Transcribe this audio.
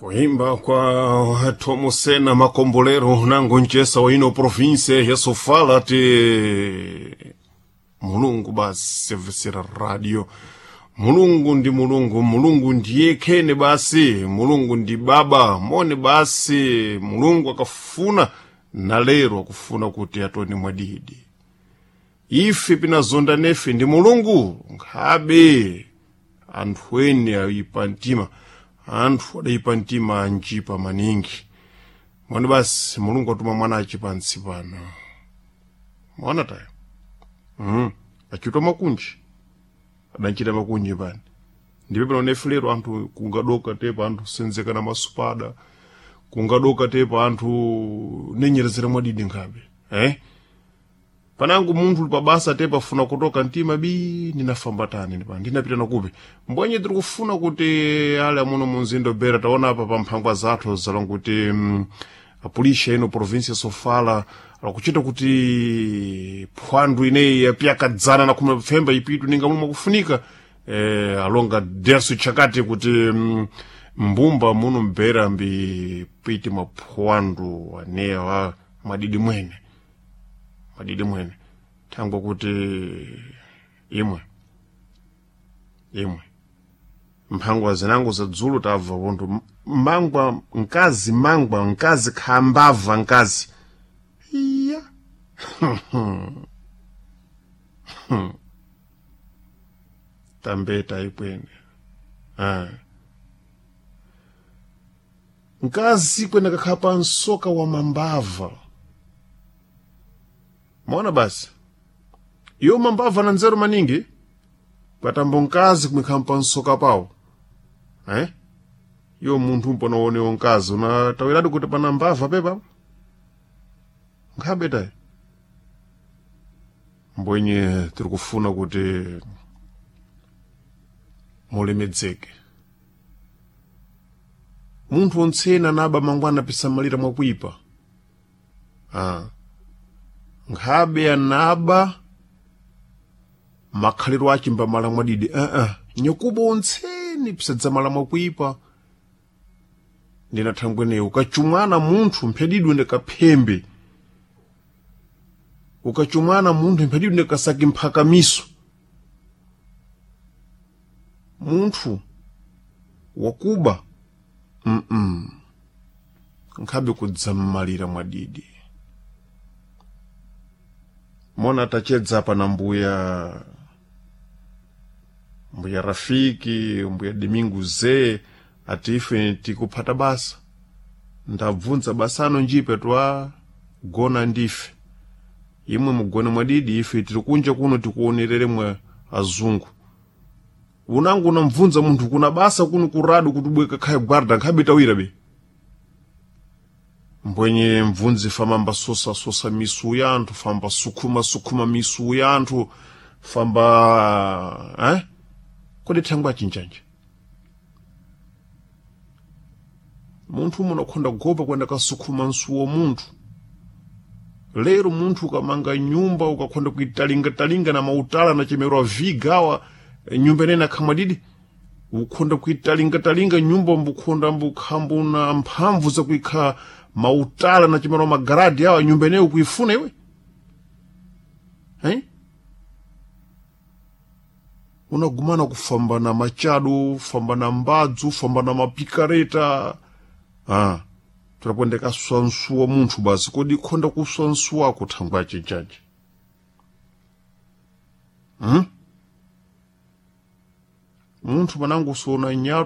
Kuimba kwa Tomosena Makombolero nango nchesa wa ino province ya Sofala ti Mulungu basi sevesera radio. Mulungu ndi Mulungu, Mulungu ndiye khene basi, Mulungu ndi baba mone basi. Mulungu akafuna na lero akufuna kuti atone mwadidi. Ife pinazonda nefe ndi Mulungu nkhabe anthu ene ayipa mtima, anthu adayipa mtima anjipa maningi. Mone basi Mulungu atuma mwana achi pansi pano. Mwana tayo achitwa makunji, adanchita makunji pani ndipo pano nefe lero anthu kungadoka tepa anthu senzeka na masupada, kungadoka tepa anthu nenyerezera mwadidi nkhabe Panangu munthu uli pabasa tepa afuna kutoka mtima bi ndinafamba tani ndipa ndinapita nakupi mbwenye tiri kufuna kuti ale amuno munzindo bera taona apa pa mphangwa zathu zalanguti apulisha ino provinsia Sofala akuchita kuti phwandu ineyi yapyakadzana na khumi pfemba ipitu ninga momwe akufunika alonga deso chakati kuti mbumba muno mbera mbi piti maphwandu anewa mwadidi mwene, madidi mwene thangwa kuti imwe imwe mphangwa zinango za dzulo tabva pontho mangwa mkazi mangwa mkazi khambava mkazi iya tambeta ikwene mkazi kwene kakhala pa msoka wa mambava. Mona basi iyo mambava na nzeru maningi kwatambo mkazi kumikhala pa msoka pawo Iyo munthu mpona uonewo mkazi unatawiradi kuti pana mbava pepa nkhabe tayi. Mbwenye tiri kufuna kuti mulemedzeke munthu ontsena anaba mangwana pisamalira mwakuipa nkhabe anaba makhaliro achi mbamala mwadidi nyakuba ontseni pisadzamala mwakuipa. Ndinathangweneyo ukachumwana munthu mphedidwe ndikaphembe, ukachumwana munthu mphedidwe ndikasaki mphakamiso. Munthu wakuba nkhabe kudzammalira mwadidi. Mona tachedza apa na mbuya Rafiki, mbuya Domingo Ze ati ife tikuphata basa. Ndabvunza basano njipe twa gona ndife imwe mugone mwadidi, ife tiri kunja kuno tikuonerere mwe azungu. Unangu unamvunza munthu kuna basa kuno kuradu kuti ubweka khaye guarda nkhabe tawira be mbwenye mvunzi famamba sosa sosa misu ya anthu, famba sukhuma sukhuma misu ya anthu, famba Kodi thangwa achinjanja munthu munakhonda kugopa kwenda kasukhuma msuwo munthu. Lero munthu ukamanga nyumba ukakhonda kuitalinga-talinga na mautala na chemerwa vigawa nyumba inene akhamwadidi ukhonda kuitalinga-talinga nyumba mbukhonda mbukhambuna mphamvu zakuikha mautala na chemerwa magaradi awa nyumba ineyo ukuifuna iwe Unagumana kufamba na machado, famba na mbadzu, famba na mapikareta tulakwendeka swansuwa munthu basi kodi khonda kuswansuwako thangwa chinchache munthu panangu sona